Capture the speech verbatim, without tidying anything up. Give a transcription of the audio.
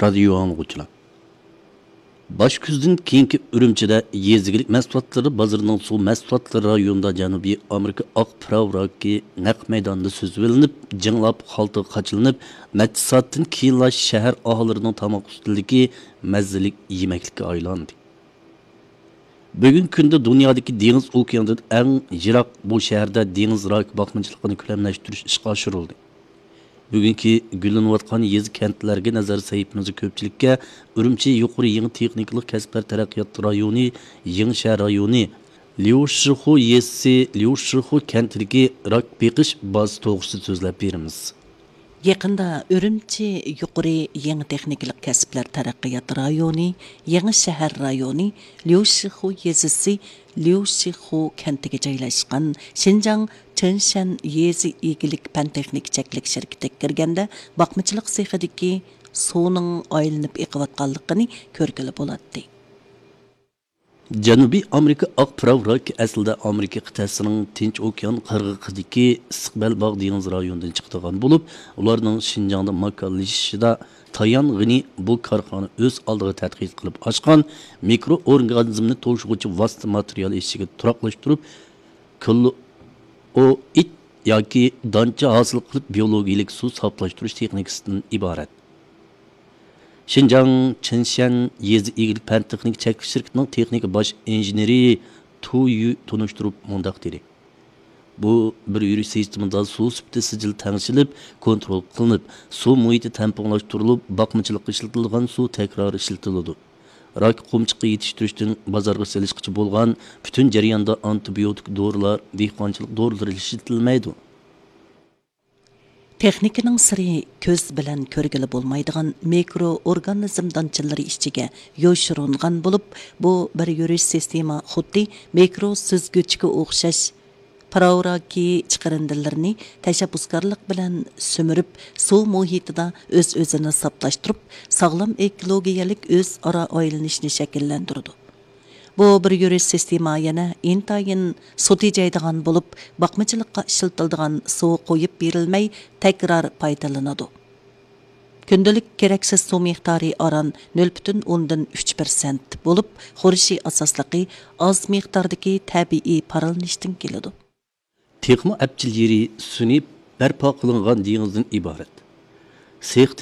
رادىيو ئاڭلىغۇچىلار! باش كۈزدىن كېيىنكى ئۈرۈمچىدە يېزا ئىگىلىك مەھسۇلاتلىرى بازىرىنىڭ سۇ مەھسۇلاتلىرى رايونىدا جەنۇبىي ئامېرىكا ئاق پىراۋ راكى نەق مەيداندا سۈزۈۋېلىنىپ، جىڭلاپ خالتىغا قاچىلىنىپ، نەچچە سائەتتىن كېيىنلا شەھەر ئاھالىلىرىنىڭ تاماق ئۈستىلىدىكى مەززىلىك يېمەكلىككە ئايلاندى. بۈگۈنكى كۈندە دۇنيادىكى دېڭىز ئوكياندىن ئەڭ يىراق بۇ شەھەردە دېڭىز راكى باقمىچىلىقىنى كۆلەملەشتۈرۈش ئىشقا ئاشۇرۇلدى. بۈگۈنكى گۈللىنىۋاتقان يېزا، كەنتلەرگە نەزەر سەھىپىمىزدە كۆپچىلىككە ئۈرۈمچى يۇقىرى يېڭى تېخنىكىلىق كەسىپلەر تەرەققىيات رايونى، يېڭى شەھەر رايونى، ليۇشىخۇ يېزىسى، ليۇشىخۇ كەنتىدىكى راك بېقىش بازىسى توغرىسىدا سۆزلەپ بېرىمىز. يېقىندا ئۈرۈمچى يۇقىرى يېڭى تېخنىكىلىق كەسىپلەر تەرەققىيات رايونى، يېڭى شەھەر رايونى، ليۇشىخۇ يېزىسى، ليۇشىخۇ كەنتىگە جايلاشقان شىنجاڭ چېنشەن يېزا ئىگىلىك پەن تېخنىكا چەكلىك شىركىتىگە كىرگەندە، باقمىچىلىق سېخىدىكى سۇنىڭ ئايلىنىپ ئېقىۋاتقانلىقىنى كۆرگىلى بولاتتى. جەنۇبىي ئامېرىكا ئاق پىراۋ راكى ئەسلىدە ئامېرىكا قىتئەسىنىڭ تىنچ ئوكيان قىرغىقىدىكى ئىسسىق بەلباغ دېڭىز رايونىدىن چىقىدىغان بولۇپ، ئۇلارنىڭ شىنجاڭدا ماكانلىشىشىدا تايانغىنى بۇ كارخانا ئۆز ئالدىغا تەتقىق قىلىپ ئاچقان مىكرو ئورگانىزمنى توشۇغۇچى ۋاسىتە ماتېرىيال ئىچىگە تۇراقلاشتۇرۇپ، كوللوئىد ياكى دانچە ھاسىل قىلىپ، بىيولوگىيىلىك سۇ ساپلاشتۇرۇش تېخنىكىسىدىن ئىبارەت. شىنجاڭ چېنشەن يېزا ئىگىلىك پەن تېخنىكا چەكلىك شىركىتىنىڭ تېخنىكا باش ئىنژېنېرى تۇ يۈ تونۇشتۇرۇپ مۇنداق دېدى: بۇ بىر يۈرۈش سىستېمىدا سۇ سۈپىتى سىجىل تەڭشىلىپ، كونترول قىلىنىپ، سۇ مۇھىتى تەڭپۇڭلاشتۇرۇلۇپ، باقمىچىلىققا ئىشلىتىلىدىغان سۇ تەكرار ئىشلىتىلىدۇ. راك قومچىقى يېتىشتۈرۈشتىن بازارغا سېلىشقىچە بولغان پۈتۈن جەرياندا ئانتىبىيوتىك دورىلار، دېھقانچىلىق دورىلىرى ئىشلىتىلمەيدۇ. تېخنىكىنىڭ سىرى كۆز بىلەن كۆرگىلى بولمايدىغان مىكرو ئورگانىزم دانچىلىرى ئىچىگە يوشۇرۇنغان بولۇپ، بۇ بىر يۈرۈش سىستېما خۇددى مىكرو سۈزگۈچكە ئوخشاش پىراۋ راكى چىقىرىندىلىرىنى تەشەببۇسكارلىق بىلەن سۈمۈرۈپ، سۇ مۇھىتىدا ئۆز-ئۆزىنى ساپلاشتۇرۇپ، ساغلام ئېكولوگىيەلىك ئۆزئارا ئايلىنىشنى شەكىللەندۈرىدۇ. بۇ بىر يۈرۈش سىستېما يەنە ئىنتايىن سۇ تېجەيدىغان بولۇپ، باقمىچىلىققا ئىشلىتىلىدىغان سۇ قويۇپ بېرىلمەي، تەكرار پايدىلىنىدۇ. كۈندىلىك كېرەكسىز سۇ مىقدارى ئاران نۆل پۈتۈن ئوندىن ئۈچ پىرسەنت بولۇپ، خۇرۇشى ئاساسلىقى ئاز مىقداردىكى تەبىئىي پارلىنىشتىن كېلىدۇ. تېخىمۇ ئەپچىل يېرى سۈنئىي بەرپا قىلىنغان دېڭىزدىن ئىبارەت. سېخ